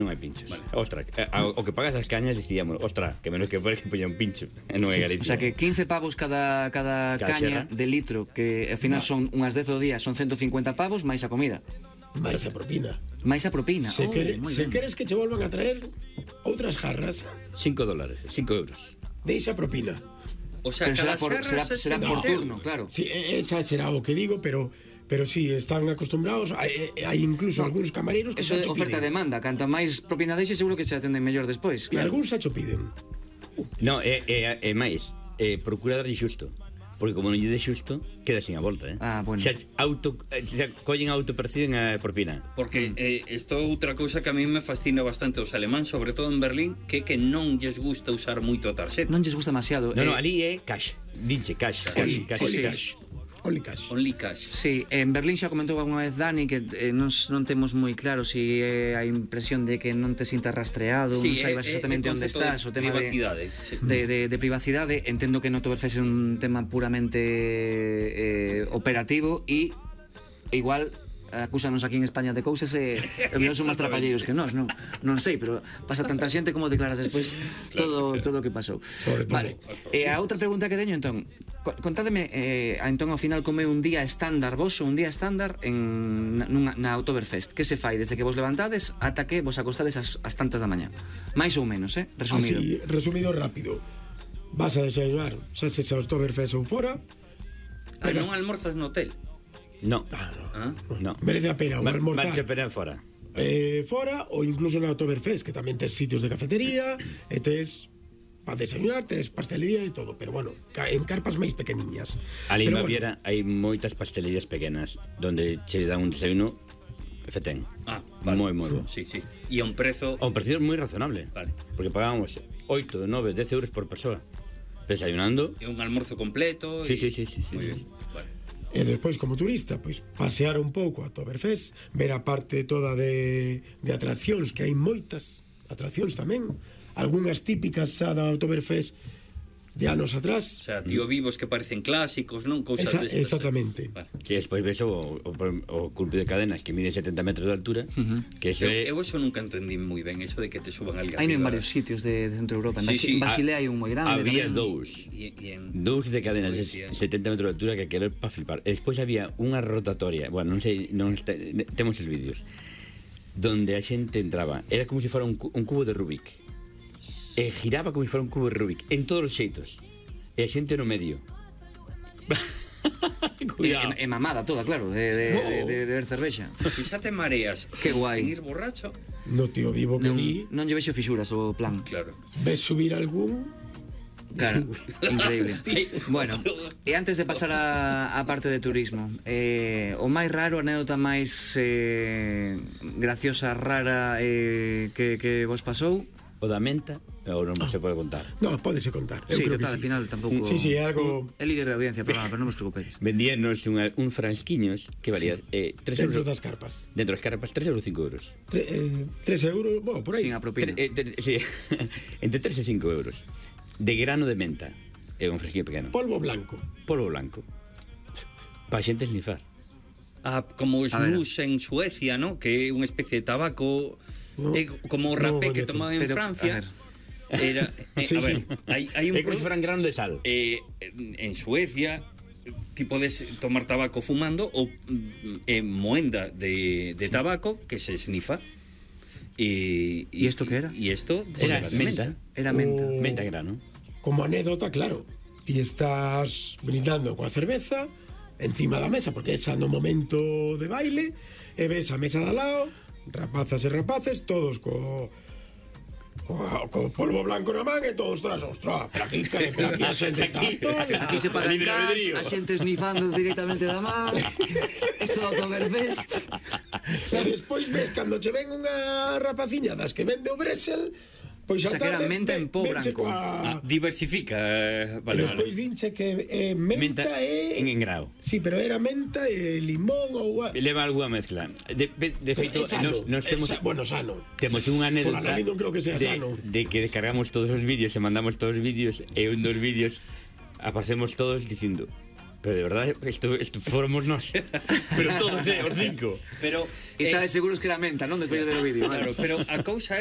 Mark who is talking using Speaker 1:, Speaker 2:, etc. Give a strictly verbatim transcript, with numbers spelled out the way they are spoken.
Speaker 1: non hai pinchos. Vale. Ostra, o que pagas as cañas dicíamos, ostra, que menos que podes que poña un pincho. E non é Galicia.
Speaker 2: O sea que quince pavos cada, cada, cada caña xerra de litro, que ao final no. son unhas dez ao día, son ciento cincuenta pavos máis a comida.
Speaker 3: máis a propina.
Speaker 2: máis a propina.
Speaker 3: Se,
Speaker 2: oh,
Speaker 3: quere, se queres que che volvan a traer outras jarras,
Speaker 1: cinco dólares, cinco euros.
Speaker 3: Deixa propina.
Speaker 4: O sea,
Speaker 2: pero será por, será, será por turno, claro.
Speaker 3: Sí, esa será o que digo, pero pero sí, están acostumbrados. Hai, hai incluso no, algúns camareros que
Speaker 2: eso é oferta e demanda. Canta máis propina deixe, seguro que che atenden mellor despois.
Speaker 3: E claro, algúns xa cho piden.
Speaker 1: No, é, é, é máis, é, procura darlle xusto. Porque como non lle de xusto, queda sin a volta, eh?
Speaker 2: Ah, bueno.
Speaker 1: Xa, auto, xa collen a autoperciben a propina.
Speaker 4: Porque eh, isto é outra cousa que a mí me fascina bastante os alemáns, sobre todo en Berlín, que que non lles gusta usar moito a tarxeta.
Speaker 2: Non lles gusta demasiado.
Speaker 1: No,
Speaker 2: eh,
Speaker 1: no, ali é cash. Dinche, cash.
Speaker 3: Sí,
Speaker 1: cash,
Speaker 3: sí,
Speaker 1: cash,
Speaker 3: sí.
Speaker 1: cash.
Speaker 3: Only cash.
Speaker 4: Only cash.
Speaker 2: Sí, en Berlín xa comentou alguna vez Dani que eh, non, non temos moi claro si é a impresión de que non te sintas rastreado,
Speaker 4: sí,
Speaker 2: non saibas
Speaker 4: é,
Speaker 2: exactamente
Speaker 4: é
Speaker 2: onde estás, o tema
Speaker 4: privacidade,
Speaker 2: de,
Speaker 4: sí.
Speaker 2: de, de, de privacidade. Entendo que no Oktoberfest é un tema puramente eh, operativo e igual acúsanos aquí en España de cousas e eh, non son máis trapalleiros que nós, non, non sei, pero pasa tanta xente como declaras despois todo todo o que pasou. Vale. E a outra pregunta que teño entón, contádeme eh, entón ao final como é un día estándar voso, un día estándar en nunha, na Oktoberfest. Que se fai desde que vos levantades ata que vos acostades as, as tantas da mañá? Mais ou menos, eh? Resumido.
Speaker 3: Así, resumido rápido. Vas a desayunar, xa se xa Oktoberfest ou fora.
Speaker 4: Ah, non almorzas no hotel?
Speaker 1: No.
Speaker 3: Ah, no.
Speaker 4: Ah?
Speaker 1: No.
Speaker 3: Merece a pena un
Speaker 1: Va,
Speaker 3: almorzar.
Speaker 1: Vanse pena fora.
Speaker 3: Eh, fora ou incluso na Oktoberfest, que tamén tes sitios de cafetería e tes para desayunar, tes pastelería e todo, pero bueno, en carpas máis pequeniñas.
Speaker 1: Ali en
Speaker 3: Pero
Speaker 1: Baviera bueno, hai moitas pastelerías pequenas donde che dan un desayuno fetén.
Speaker 4: Ah, vale.
Speaker 1: Moi, moi bo.
Speaker 4: Sí, sí. E a un prezo...
Speaker 1: A un precio moi razonable.
Speaker 4: Vale.
Speaker 1: Porque pagábamos oito, nove, dez euros por persoa desayunando.
Speaker 4: E un almuerzo completo.
Speaker 1: Sí,
Speaker 4: y...
Speaker 1: sí, sí, sí, sí,
Speaker 4: Moi
Speaker 1: sí.
Speaker 4: bien. Vale.
Speaker 3: E despois, como turista, pois pasear un pouco a Oktoberfest, ver a parte toda de, de atraccións, que hai moitas atraccións tamén, algunhas típicas xa da Oktoberfest de anos atrás.
Speaker 4: O sea, tío vivos que parecen clásicos, non? Cousas
Speaker 3: Esa,
Speaker 4: destas.
Speaker 3: exactamente.
Speaker 4: Vale.
Speaker 1: Sí, despois ves o, o, o culpio de cadenas que mide setenta metros de altura, uh-huh. que eso é...
Speaker 4: Eu, eu eso nunca entendí moi ben, eso de que te suban al
Speaker 2: Hai en varios sitios de, de Centro Europa. En
Speaker 4: sí, sí.
Speaker 2: Basilea hai un moi grande.
Speaker 1: Había
Speaker 2: tamén.
Speaker 1: dous.
Speaker 4: Y, y en...
Speaker 1: Dous de cadenas de setenta metros de altura que aquilo é para flipar. E despois había unha rotatoria, bueno, non sei, non está, temos os vídeos, donde a xente entraba, era como se fora un, un cubo de Rubik. E giraba como se fora un cubo de Rubik, en todos os xeitos. E a xente no medio.
Speaker 2: Cuidado. E, e mamada toda, claro, de, de,
Speaker 3: No.
Speaker 2: de, de, de ver cervexa.
Speaker 4: Si xa te mareas
Speaker 2: Qué
Speaker 4: sin,
Speaker 2: guai.
Speaker 4: sin ir borracho,
Speaker 3: No tío vivo que
Speaker 2: Non,
Speaker 3: di,
Speaker 2: non lle vexo fisuras o plan.
Speaker 4: claro.
Speaker 3: ves subir algún.
Speaker 2: Claro, increíble. Bueno, e antes de pasar a, a parte de turismo, eh, o máis raro, a anécdota máis eh, graciosa, rara eh, que, que vos pasou?
Speaker 1: O da menta, ou non se pode contar.
Speaker 3: No, pódese contar. Eu
Speaker 2: Sí,
Speaker 3: creo
Speaker 2: total,
Speaker 3: que
Speaker 2: al final tampouco...
Speaker 3: Sí, sí, é algo
Speaker 2: É líder de audiencia, pero, pero non vos preocupedes.
Speaker 1: Vendíanos unha, un fransquiños que valía eh, tres
Speaker 3: dentro
Speaker 1: euros,
Speaker 3: das carpas.
Speaker 1: dentro das carpas tres euros cinco euros.
Speaker 3: Tre, eh, tres euros, bueno, por aí.
Speaker 2: Sin a propina.
Speaker 1: Tre, eh, tre, sí, entre tres e cinco euros. De grano de menta. É un fresquinho pequeno.
Speaker 3: Polvo blanco.
Speaker 1: Polvo blanco. Para xente snifar.
Speaker 4: Ah, como os
Speaker 2: A ver.
Speaker 4: snus en Suecia, ¿no? Que é unha especie de tabaco,
Speaker 3: No,
Speaker 4: eh, como o
Speaker 3: no
Speaker 4: rapé que
Speaker 3: coñezo.
Speaker 4: tomaban en
Speaker 2: Pero,
Speaker 4: Francia.
Speaker 2: a ver.
Speaker 4: Era, eh,
Speaker 3: Sí,
Speaker 4: a ver,
Speaker 3: sí.
Speaker 4: hai, hai un
Speaker 1: É como se
Speaker 4: produ-
Speaker 1: fueran grano de sal.
Speaker 4: eh, en Suecia ti podes tomar tabaco fumando ou mm, eh, moenda de, de tabaco que se snifa. E,
Speaker 2: ¿Y esto qué era?
Speaker 4: E isto
Speaker 1: Era
Speaker 4: de-
Speaker 1: menta.
Speaker 2: Era menta.
Speaker 3: O-
Speaker 1: Menta grano.
Speaker 3: Como anécdota, claro, ti estás brindando coa cerveza encima da mesa, porque esa no momento de baile, e ves a mesa de al lado, rapazas e rapaces, todos co co, co polvo blanco na man e todos tras, ostras, pero aquí, que, pero aquí a xente tanto,
Speaker 2: Aquí se pagan
Speaker 1: Libre
Speaker 2: gas,
Speaker 1: albedrío.
Speaker 2: a xente snifando directamente da man. Isto do Oktoberfest.
Speaker 3: e despois ves cando che ven unha rapaciña das que vende o Bresel, pois
Speaker 2: O sea,
Speaker 3: a
Speaker 2: que era
Speaker 3: tarde
Speaker 2: menta en pó
Speaker 3: venche
Speaker 2: branco.
Speaker 4: Ah,
Speaker 3: coa...
Speaker 4: diversifica, eh,
Speaker 3: E
Speaker 4: vale,
Speaker 3: despois
Speaker 4: vale.
Speaker 3: dinche que eh, menta,
Speaker 1: Menta
Speaker 3: e...
Speaker 1: en engrao.
Speaker 3: Sí, pero era menta e limón ou...
Speaker 1: Leva algunha mezcla. De, de, de feito,
Speaker 3: É sano,
Speaker 1: nos, nos
Speaker 3: é
Speaker 1: temos...
Speaker 3: sa- bueno, sano.
Speaker 1: Temos unha anécdota
Speaker 3: Pola nariz non creo que sea
Speaker 1: de,
Speaker 3: sano.
Speaker 1: de que descargamos todos os vídeos e mandamos todos os vídeos e un dos vídeos aparecemos todos dicindo Pero de verdade, isto, isto fomos nós. Pero todos, eh, os cinco.
Speaker 4: Pero
Speaker 2: E
Speaker 4: eh,
Speaker 2: estades seguros que era menta, non? Despois de ver o vídeo.
Speaker 4: claro, pero a cousa